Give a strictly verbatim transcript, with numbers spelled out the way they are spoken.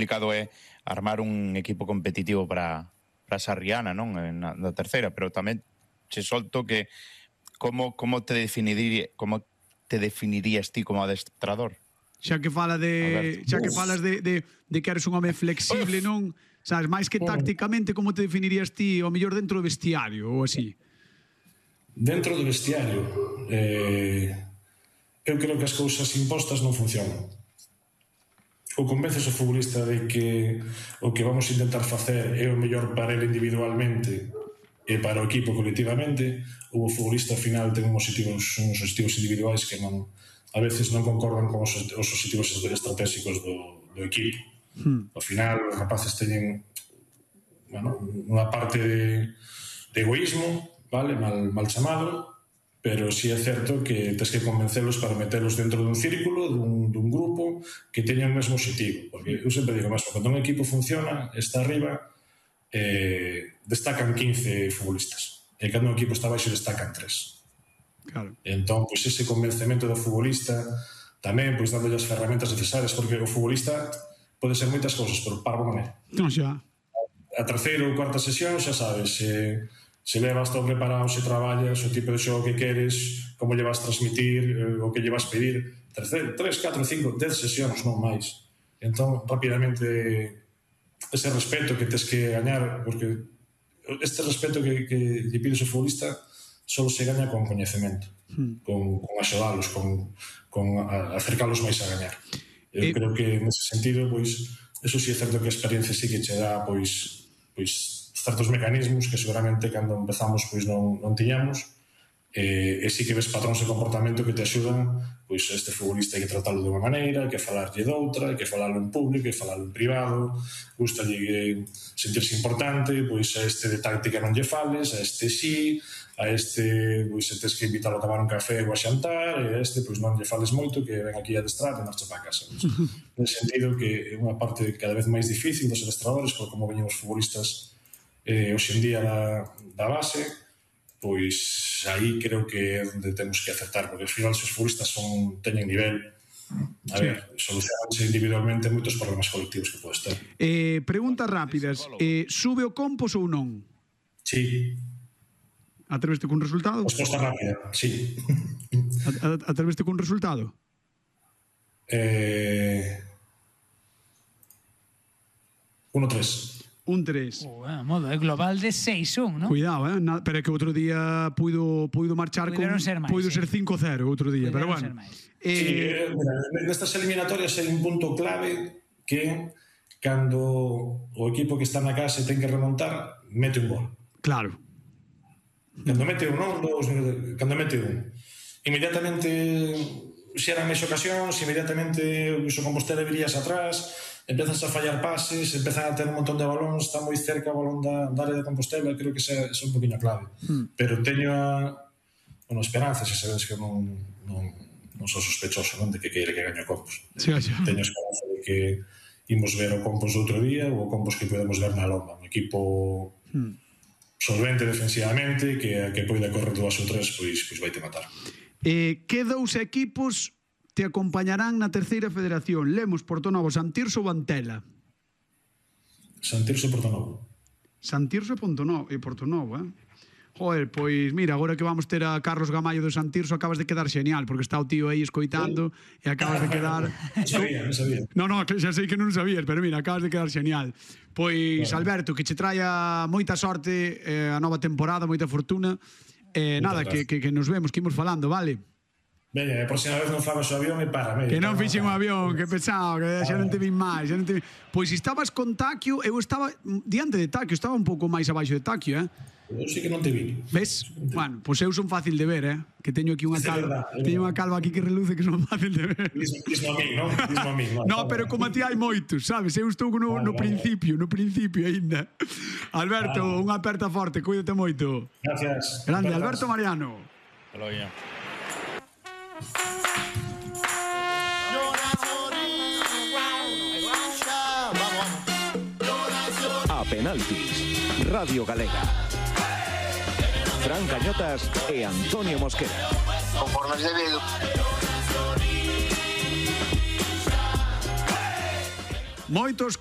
complicado é armar un equipo competitivo para para Sarriana, non? Na, na terceira, pero tamén che solto que como como te definiría como te definirías ti como adestrador? Xa que fala de, xa que falas de, de, de que eres un home flexible, non? Sabes, máis que tácticamente, como te definirías ti ao mellor dentro do vestiario ou así? Dentro do vestiario, eh, eu creo que as cousas impostas non funcionan. Ou convences o futbolista de que o que vamos a intentar facer é o mellor para ele individualmente e para o equipo colectivamente, ou o futbolista ao final ten uns objetivos, uns objetivos individuais que non, a veces non concordan con os, os objetivos estratégicos do, do equipo. Hmm. Ao final, os rapaces teñen, bueno, unha parte de, de egoísmo, vale, mal, mal chamado, pero sí é certo que tens que convencelos para metelos dentro dun círculo, dun, dun grupo que teña o mesmo objetivo, porque eu sempre digo mesmo, cando un equipo funciona, está arriba, eh, destacan quince futbolistas, e cando un equipo está baixo destacan tres. Claro. Entón, pois ese convencemento do futbolista tamén, pois dándolle as ferramentas necesarias, porque o futbolista pode ser moitas cousas, pero parvo non é. Non xa. A terceira ou cuarta sesión, xa sabes, se, se levas todo preparado, se traballas, o tipo de xogo que queres, como lle vas transmitir, o que lle vas pedir, terceiro, tres, catro, cinco, dez sesións, non máis. Entón, rapidamente, ese respeto que tes que gañar, porque este respeto que, que lle pides ao futbolista só se gaña con coñecemento, hmm. con, con axudalos, con, con acercalos máis a gañar. Eu eh, creo que nese sentido, pois, eso sí é certo que a experiencia sí que che dá, pois, pois certos mecanismos que seguramente cando empezamos pois non, non tiñamos, e, e sí que ves patróns de comportamento que te axudan, pois este futbolista hai que tratarlo de unha maneira, hai que falarlle doutra, hai que falarlo en público, hai que falarlo en privado, gustalle sentirse importante, pois a este de táctica non lle fales, a este sí, a este, pois, se tes que invitalo a tomar un café ou a xantar, e a este, pois, non lle fales moito, que ven aquí a adestrar e marcha para casa. Nesse sentido, que é unha parte cada vez máis difícil dos adestradores, por como veñen os futbolistas eh, hoxe en día da, da base, pois aí creo que é onde temos que acertar, porque ao final, se os futbolistas son, teñen nivel, a sí. ver, solucionanse individualmente moitos problemas colectivos que podes ter. Eh, preguntas rápidas. Eh, sube o Compos ou non? Sí. Atreveste cun resultado? Resposta rápida, sí. Atreveste cun resultado? Eh... uno tres. Un tres. Oh, a modo, é global de seis un, non? Cuidado, eh? Na, pero é que outro día puido, puido marchar con... Ser máis, puido sí. ser cinco cero outro día, Puideron pero bueno. Eh... Sí, eh, mira, nestas eliminatorias hai un punto clave que cando o equipo que está na casa ten que remontar, mete un gol. Claro. Cando mete un, non, dos, cando mete un, inmediatamente xeran máis ocasións, inmediatamente o Compostela virías atrás, empezas a fallar pases, empezan a ter un montón de balóns, está moi cerca o balón da, da área de Compostela, creo que esa é un poquinho clave. Hmm. Pero teño a, bueno, esperanza, se sabes que non, non, non sou sospechoso, non, de que queire que gañe o Compos. Sí, sí. Teño esperanza de que imos ver o Compos outro día ou o Compos que podemos ver na Lomba, un equipo... Hmm. solvente defensivamente, que a que poida correr dúas ou tres, pois, pois vai te matar. Eh, que dous equipos te acompañarán na terceira federación? Lemos, Portonovo, Santirso ou Antela? Santirso e Portonovo. Santirso e Portonovo, e Portonovo, eh? Joder, pois mira, agora que vamos ter a Carlos Gamallo do Santirso, acabas de quedar xenial, porque está o tío aí escoitando e acabas de quedar... Non sabía, non sabía. No, no, xa sei que non sabías, pero mira, acabas de quedar xenial. Pois, bueno, Alberto, que che traia moita sorte eh, a nova temporada, moita fortuna. Eh, nada, que, que, que nos vemos, que imos falando, vale? Veña, a próxima vez non fagas o avión e para, medio. Que non fixen un avión, que pesado, que xa non te vin máis, xa non te vin... Pois estabas con Taquio, eu estaba diante de Taquio, estaba un pouco máis abaixo de Taquio, eh? Eu sí que non te vi. Ves? Bueno, pois eu son fácil de ver, eh? Que teño aquí unha calva, teño unha calva aquí que reluce que son fácil de ver. Dismo a mí, non? Dismo a mí, non? No, pero como a ti hai moitos, sabes? Eu estou no, no principio, no principio aínda. Alberto, unha aperta forte, cuídate moito. Gracias. Grande, Alberto Mariano. Hasta logo. A penaltis, Radio Galega. Fran Cañotas e Antonio Mosquera. Conforme debido. Moitos cambios